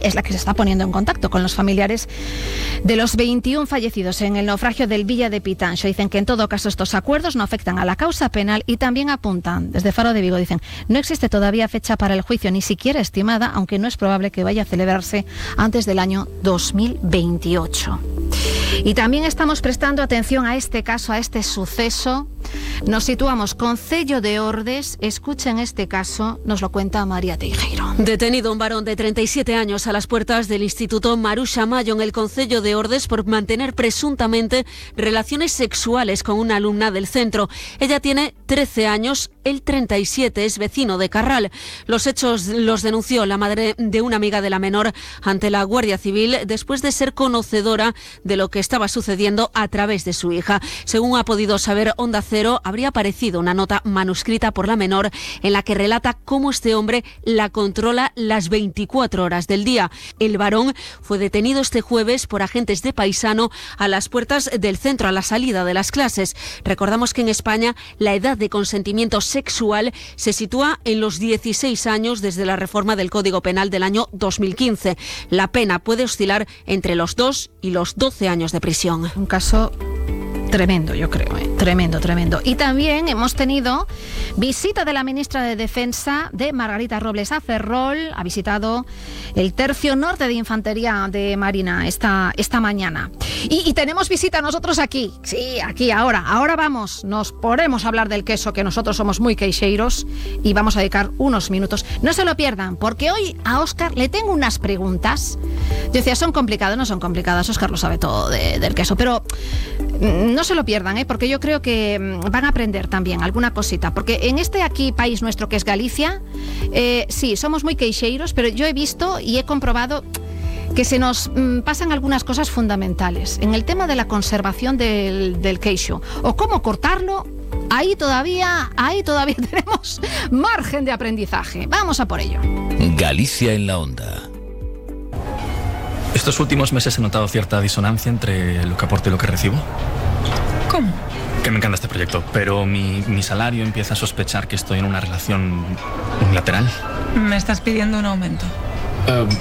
es la que se está poniendo en contacto con los familiares de los 21 fallecidos en el naufragio del Villa de Pitanxo. Dicen que en todo caso estos acuerdos no afectan a la causa penal y también apuntan, desde Faro de Vigo, dicen, no existe todavía fecha para el juicio, ni siquiera estimada, aunque no es probable que vaya a celebrarse antes del año 2028. Y también estamos prestando atención a este caso, a este suceso. Nos situamos Concello de Ordes. Escuchen este caso, nos lo cuenta María Teijeiro. Detenido un varón de 37 años a las puertas del Instituto Maruxa Mayo en el Concello de Ordes por mantener presuntamente relaciones sexuales con una alumna del centro. Ella tiene 13 años, él 37, es vecino de Carral. Los hechos los denunció la madre de una amiga de la menor ante la Guardia Civil después de ser conocedora de lo que estaba sucediendo a través de su hija. Según ha podido saber Onda Cero, habría aparecido una nota manuscrita por la menor en la que relata cómo este hombre la controla las 24 horas del día. El varón fue detenido este jueves por agentes de Paisano a las puertas del centro a la salida de las clases. Recordamos que en España la edad de consentimiento sexual se sitúa en los 16 años desde la reforma del Código Penal del año 2015. La pena puede oscilar entre los 2 y los 12 años de prisión. Un caso tremendo, yo creo, tremendo. Y también hemos tenido visita de la ministra de Defensa, de Margarita Robles a Ferrol. Ha visitado el Tercio Norte de Infantería de Marina esta mañana. Y tenemos visita nosotros aquí. Sí, aquí, ahora vamos. Nos ponemos a hablar del queso, que nosotros somos muy queixeiros, y vamos a dedicar unos minutos. No se lo pierdan, porque hoy a Óscar le tengo unas preguntas. Yo decía, ¿son complicadas? No son complicadas, Óscar lo sabe todo del queso, pero no se lo pierdan, porque yo creo que van a aprender también alguna cosita, porque en este aquí país nuestro que es Galicia, sí, somos muy queixeiros, pero yo he visto y he comprobado que se nos pasan algunas cosas fundamentales en el tema de la conservación del queixo, o cómo cortarlo. Ahí todavía tenemos margen de aprendizaje. Vamos a por ello. Galicia en la onda. Estos últimos meses he notado cierta disonancia entre lo que aporto y lo que recibo. ¿Cómo? Que me encanta este proyecto, pero mi salario empieza a sospechar que estoy en una relación unilateral. ¿Me estás pidiendo un aumento?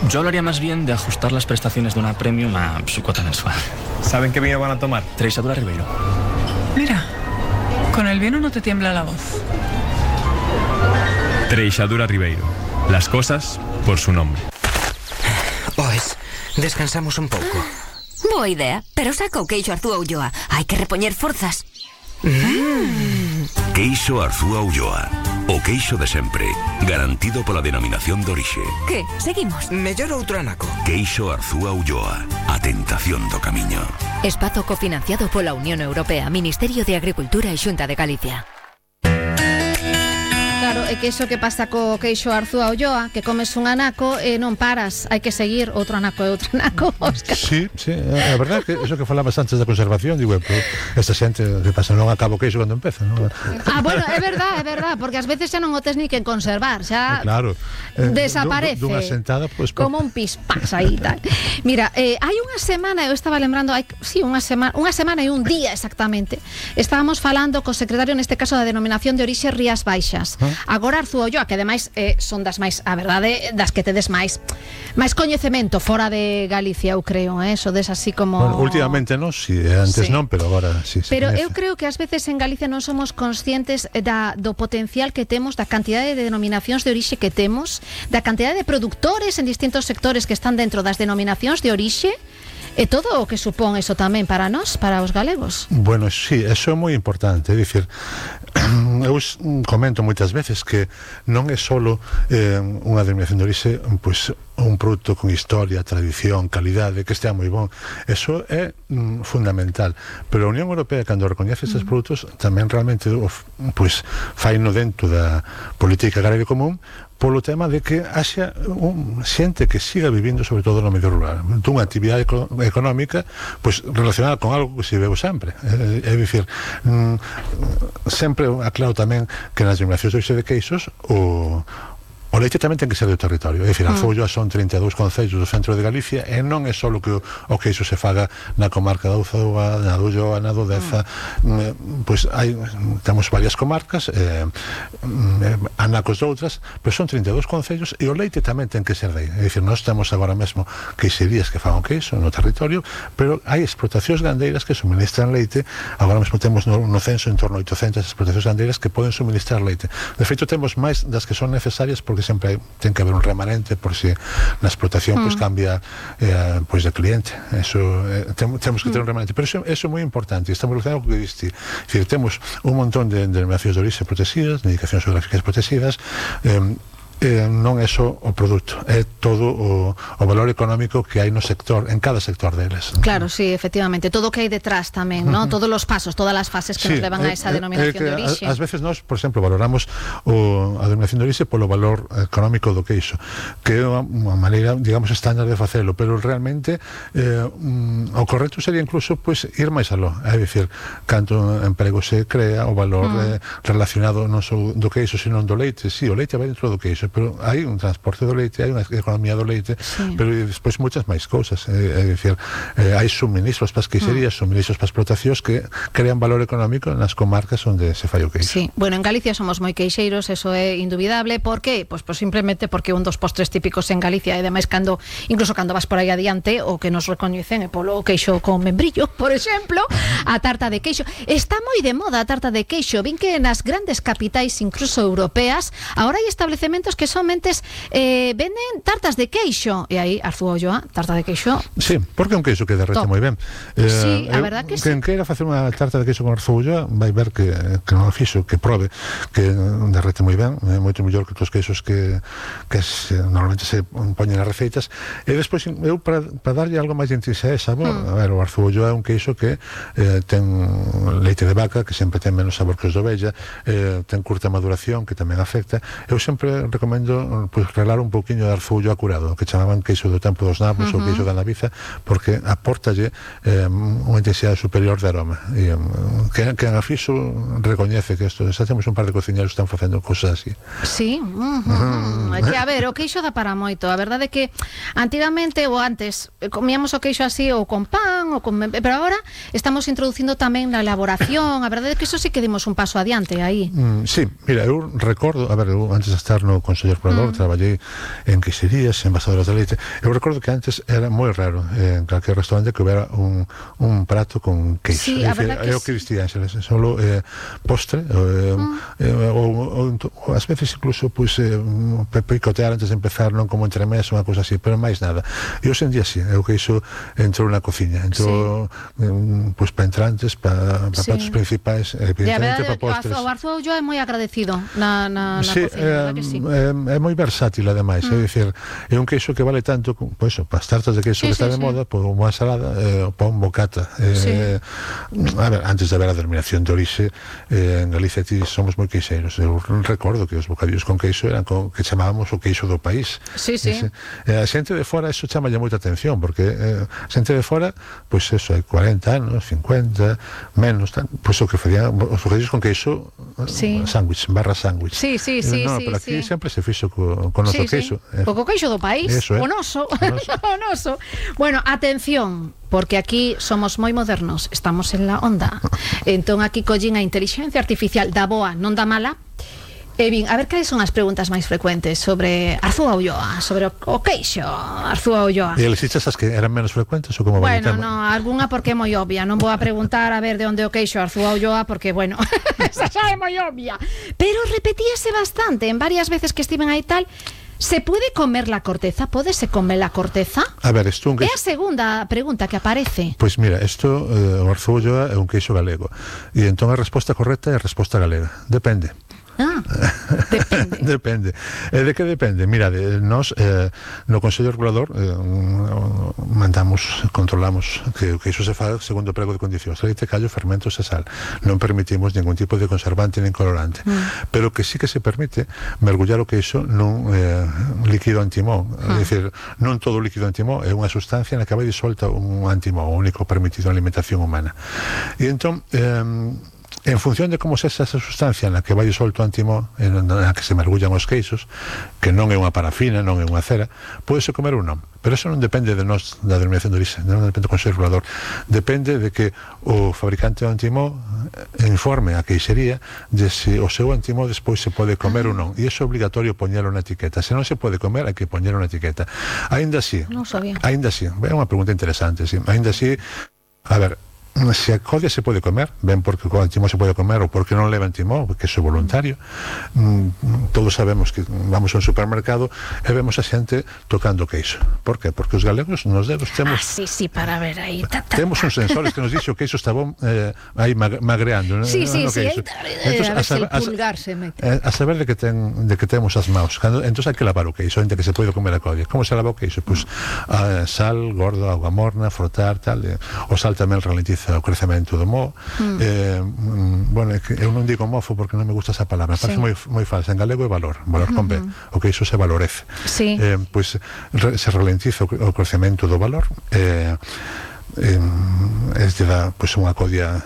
Yo hablaría más bien de ajustar las prestaciones de una premium a su cuota mensual. ¿Saben qué vino van a tomar? Treixadura Ribeiro. Mira, con el vino no te tiembla la voz. Treixadura Ribeiro. Las cosas por su nombre. Pues, descansamos un pouco. Boa idea, pero saca o queixo Arzúa Ulloa. Hai que repoñer forzas. Queixo Arzúa Ulloa. O queixo de sempre, garantido pola denominación de orixe. Que? Seguimos? Mellor outro anaco. Queixo Arzúa Ulloa. A tentación do camiño. Espazo cofinanciado pola Unión Europea, Ministerio de Agricultura e Xunta de Galicia. Claro, é que iso que pasa co queixo Arzúa Ulloa, que comes un anaco e non paras, hai que seguir outro anaco e outro anaco, Óscar. Sí, a verdade que eso que falabas antes da conservación, digo, pero esta xente que pasa non acaba o queixo cando empeza, non? Bueno, é verdade, porque ás veces xa non o tes ni que conservar, xa claro, desaparece. Dunha sentada, pues, como un pispás aí tal. Mira, hai unha semana, eu estaba lembrando, unha semana e un día exactamente, estábamos falando co secretario, neste caso da denominación de orixe Rías Baixas. Agora Arzúa Ulloa, que ademais son das máis, a verdade, das que tedes máis coñecemento fora de Galicia, eu creo, sodes así como... Bueno, últimamente non, si antes sí. Non, pero agora sí. Pero eu creo que ás veces en Galicia non somos conscientes do potencial que temos, da cantidade de denominacións de orixe que temos, da cantidade de produtores en distintos sectores que están dentro das denominacións de orixe, e todo o que supón eso tamén para nós, para os galegos. Bueno, sí, eso é moi importante, é dicir, eu comento moitas veces que non é solo unha denominación de orixe, pois un produto con historia, tradición, calidade, que estea moi bon. Eso é fundamental. Pero a Unión Europea, cando recoñece estes produtos, tamén realmente pois faino dentro da política agraria común, polo tema de que haxa xente que siga vivindo sobre todo no medio rural, dunha actividade económica pois relacionada con algo que se veu sempre, é dicir, sempre aclaro tamén que nas denominacións de orixe de queixos o O leite tamén ten que ser do territorio, é dicir, Arzuolloa son 32 concellos do centro de Galicia e non é só que o queixo se faga na comarca da Uzouga, na do Ulloa, na do Deza, pois temos varias comarcas, anacos de outras, pero son 32 concellos e o leite tamén ten que ser de aí, é dicir, nós temos agora mesmo queixerías que fagan queixo no territorio, pero hai explotacións gandeiras que suministran leite. Agora mesmo temos no censo en torno a 800 explotacións gandeiras que poden suministrar leite. De feito, temos máis das que son necesarias porque sempre ten que haber un remanente por si na explotación pois cambia pois de cliente. Eso temos que ter un remanente, pero eso é moi importante. Estamos relacionados con o que diste. É dicir, temos un montón de denominacións de orixe protegidas, de indicacións geográficas protegidas. Non é só o produto, é todo o valor económico que hai no sector, en cada sector deles. Claro, sí, efectivamente, todo o que hai detrás tamén, ¿no? Todos os pasos, todas as fases que nos levan a esa denominación de orixe. Ás veces nós, por exemplo, valoramos a denominación de orixe polo valor económico do queixo, que é unha maneira, digamos, estándar de facelo, pero realmente o correcto sería incluso pues, ir máis aló, é dicir, canto emprego se crea, o valor relacionado non só do queixo, sino do leite. Sí, o leite vai dentro do queixo, pero hai un transporte do leite, hai unha economía do leite, pero despois moitas máis cousas, é dicir, hai suministros para as queixerías, suministros para as explotacións que crean valor económico nas comarcas onde se fai o queixo. Sí, bueno, en Galicia somos moi queixeiros, eso é indubidable. Por que? Pois simplemente porque un dos postres típicos en Galicia, e ademais incluso cando vas por aí adiante, o que nos recoñecen é polo queixo con membrillo, por exemplo, a tarta de queixo. Está moi de moda a tarta de queixo, vin que nas grandes capitais, incluso europeas, agora hai establecementos que somente venden tartas de queixo, e aí Arzuolloa, tarta de queixo. Sí, porque é un queixo que derrete moi ben. Sí, a verdad que quen queira facer unha tarta de queixo con Arzuolloa vai ver que non o fixo, que probe que derrete moi ben, é moito mellor que os queixos que normalmente se poñen nas receitas. E despois eu para darlle algo máis de intensidade e sabor, a ver, o Arzuolloa é un queixo que ten leite de vaca, que sempre ten menos sabor que os de ovella, ten curta maduración, que tamén afecta. Eu sempre recomendo pues, relar un pouquiño de Arzuolloa curado, que chamaban queixo do tempo dos nabos ou queixo da naviza, porque aportalle unha intensidade superior de aroma. E quen a fixo recoñece que isto, xa temos un par de cociñeros que están facendo cousas así. Sí, que a ver, o queixo dá para moito. A verdade é que antigamente ou antes comíamos o queixo así ou con pan, pero agora estamos introducindo tamén na elaboración. A verdade é que iso sí que dimos un paso adiante aí. Sí, mira, eu recordo, a ver, eu antes de estar no Consello Regulador, traballei en queixerías, en envasadoras de leite. Eu recordo que antes era moi raro en calquer restaurante que houbera un prato con queixo. Sí, a verdade que é o que distía solo postre ou ás veces incluso pues, picotear antes de empezar, non como entremés, unha cousa así, pero máis nada. E hoxe en día sí, é o queixo entrou na cociña, entrou pues, para entrantes, para pratos principais, evidentemente para postres. O Arzuolloa é moi agradecido na cociña, que sí. É moi versátil, ademais, é dicir, é un queixo que vale tanto pues, para as tartas de queixo que está de moda, por unha ensalada, para un bocata. A ver, antes de haber a denominación de orixe, en Galicia somos moi queixeiros. Eu recordo que os bocadillos con queixo eran que chamábamos o queixo do país. A xente de fora, eso chamalle moita atención, porque a xente de fora, pois eso, hai 40 anos, 50, menos, pois o que facían os bocadillos con queixo, sándwich, barra sándwich. Pero aquí sempre se fixo con noso queixo. O queixo do país, o noso. Bueno, atención, porque aquí somos moi modernos, estamos en la onda. Entón aquí collín a inteligencia artificial da boa, non da mala. E bien, a ver cales son as preguntas máis frecuentes sobre Arzuolloa, sobre o queixo Arzuolloa. E elegiste as que eran menos frecuentes ou como bueno, no, algunha porque é moi obvia. Non vou a preguntar a ver de onde o queixo Arzuolloa porque, bueno, esa xa é moi obvia. Pero repetíase bastante en varias veces que estiven aí tal. ¿Se puede comer la corteza? ¿Pódese comer la corteza? A ver, isto é a segunda pregunta que aparece. Pois mira, isto, o Arzuolloa é un queixo galego. E entón a resposta correcta é a resposta galega. Depende. Depende. De que depende? Mira, nós no Consello Regulador controlamos que iso se fa segundo o prego de condicións, leite, callo, fermentos e sal. Non permitimos ningún tipo de conservante nin colorante, pero que sí que se permite mergullar o queixo nun líquido antimón. É dicir, non todo o líquido antimón é unha sustancia na que vai disolta un antimón, o único permitido na alimentación humana. E entón en función de como sexa esa sustancia na que vai solto o antimó, na que se mergullan os queixos, que non é unha parafina, non é unha cera, podese comer ou non. Pero eso non depende de nós, da denominación de orixe, non depende do Consello Regulador, depende de que o fabricante do antimó informe a queixería de se o seu antimó despois se pode comer ou non, e iso é obligatorio poñelo na etiqueta. Se non se pode comer, hai que poñelo na etiqueta. Ainda así, é unha pregunta interesante, sí. Ainda así, a ver, se a codia se pode comer, ben porque o antimó se pode comer ou porque non leva antimó, porque iso é voluntario. Todos sabemos que vamos a un supermercado e vemos a xente tocando queixo. Por qué? Porque os galegos nos dedos temos para ver aí temos uns sensores que nos dixo que queixo está bom aí magreando, sí, entonces, a saber de que temos as maus, entonces hai que lavar o queixo antes que se pode comer a codia. Como se lava o queixo? Pues, sal, gordo, agua morna, frotar, tal, o sal tamén ralentiza o crecemento do moho. Bueno, eu non digo mofo porque non me gusta esa palabra, parece moi falsa. En galego é valor con B, o que iso se valorece. Pois se ralentiza o crecemento do valor, este dá pois unha codia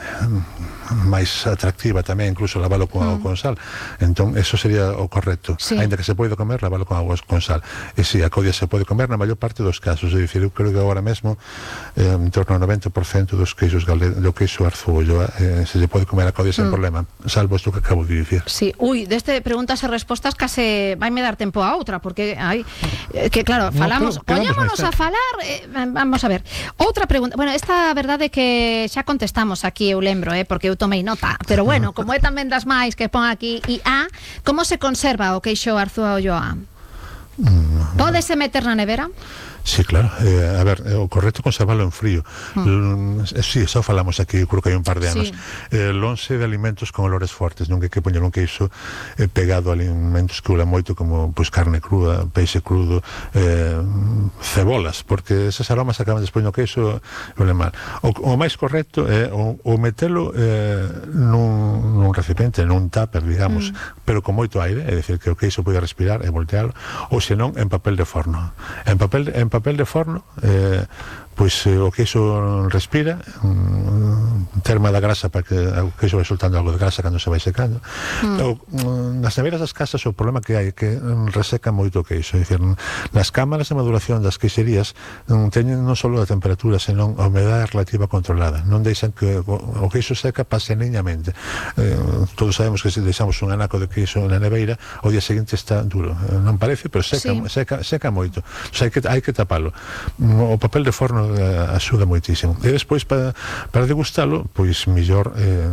máis atractiva tamén, incluso lavalo con agua con sal. Entón, eso sería o correcto. Ainda que se pode comer, lavalo con agua con sal. E si, a codia se pode comer na maior parte dos casos. É dicir, eu creo que agora mesmo en torno ao 90% dos queixos do queixo Arzúa Ulloa se lle pode comer a codia sen problema, salvo isto que acabo de dicir. Sí, deste preguntas e respostas case vaime dar tempo a outra, porque hai que claro, falamos, poñémonos a falar, vamos a ver. Outra pregunta, bueno, esta verdade que xa contestamos aquí, eu lembro, porque eu tomei nota, pero bueno, como é tamén das máis que pon aquí como se conserva o queixo Arzúa Ulloa? Pódese meter na nevera? Sí, claro. A ver, o correcto é conservarlo en frío. Sí, xa falamos aquí, creo que hai un par de anos. Lonxe de alimentos con olores fortes, non hai que poñer un queixo pegado a alimentos que huelen moito, como pois carne cruda, peixe crudo, cebolas, porque esos aromas acaban despois no queixo e huelen mal. O máis correcto é o metelo nun recipiente, nun tupper, digamos, pero con moito aire, é dicir, que o queixo pode respirar e voltealo, ou senón en papel de forno. En papel de forno, pois o queixo respira, terma da grasa para que o queixo vai soltando algo de grasa cando se vai secando. Nas neveras das casas o problema que hai é que reseca moito o queixo, é dicir, nas cámaras de maduración das queixerías teñen non só a temperatura, senón a humedade relativa controlada, non deixan que o queixo seca pase niñamente. Todos sabemos que se deixamos un anaco de queixo na neveira, o día seguinte está duro, non parece, pero seca moito, hai que tapalo. O papel de forno axuda moitísimo. E despois para degustalo, pois mellor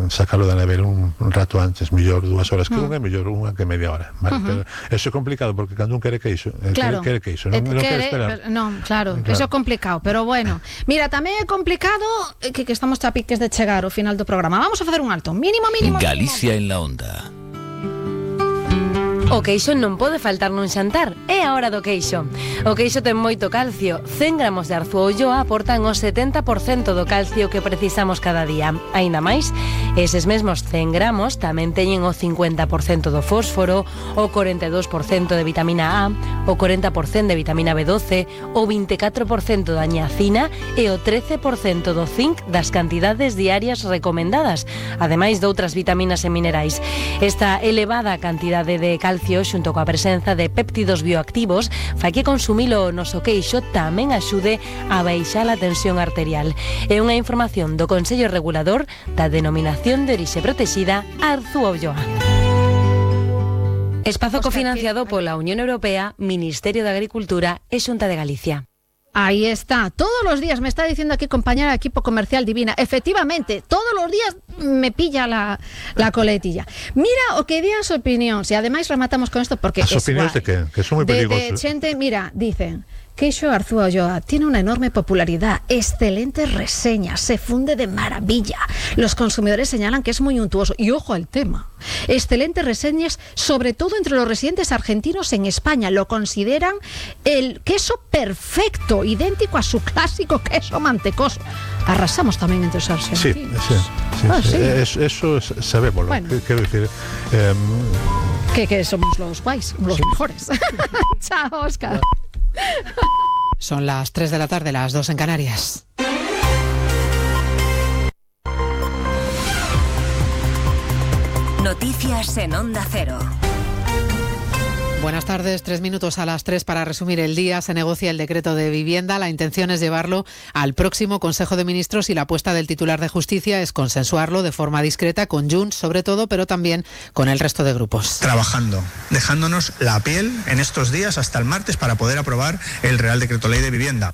sacalo da nevera un rato antes, mellor 2 horas que unha, mellor unha que media hora, vale? Pero eso é complicado porque cando un quere queixo, quere queixo, non quere esperar. Non, claro, eso é complicado, pero bueno. Mira, tamén é complicado que estamos a piques de chegar ao final do programa. Vamos a facer un alto, mínimo. Galicia en la onda. O queixo non pode faltar nun xantar, é a hora do queixo. O queixo ten moito calcio, 100 gramos de Arzúa Ulloa aportan o 70% do calcio que precisamos cada día. Aínda máis, eses mesmos 100 gramos tamén teñen o 50% do fósforo, o 42% de vitamina A, o 40% de vitamina B12, o 24% da niacina e o 13% do zinc das cantidades diarias recomendadas, ademais de outras vitaminas e minerais. Esta elevada cantidade de calcio xunto coa presenza de péptidos bioactivos fai que consumilo o noso queixo tamén axude a baixar a tensión arterial. É unha información do Consello Regulador da Denominación de Orixe Protexida Arzúa Ulloa. Espazo cofinanciado pola Unión Europea, Ministerio de Agricultura e Xunta de Galicia. Ahí está, todos los días me está diciendo aquí compañera de equipo comercial Divina, efectivamente, todos los días me pilla la coletilla. Mira o que di as opinións, e ademais rematamos con esto porque as opinións de que son moi perigosos. De xente, mira, dicen queixo Arzúa Ulloa tiene una enorme popularidad, excelentes reseñas, se funde de maravilla. Los consumidores señalan que es muy untuoso. Y ojo al tema, excelentes reseñas, sobre todo entre los residentes argentinos en España. Lo consideran el queso perfecto, idéntico a su clásico queso mantecoso. Arrasamos también entre los argentinos. Sí. Eso sabemos. Bueno. Quiero decir... que somos los guays, los mejores. Chao, Óscar. Son las 3 de la tarde, las 2 en Canarias. Noticias en Onda Cero. Buenas tardes, 3 minutos a las 3 para resumir el día. Se negocia el decreto de vivienda. La intención es llevarlo al próximo Consejo de Ministros y la apuesta del titular de Justicia es consensuarlo de forma discreta con Junts, sobre todo, pero también con el resto de grupos. Trabajando, dejándonos la piel en estos días hasta el martes para poder aprobar el Real Decreto Ley de Vivienda.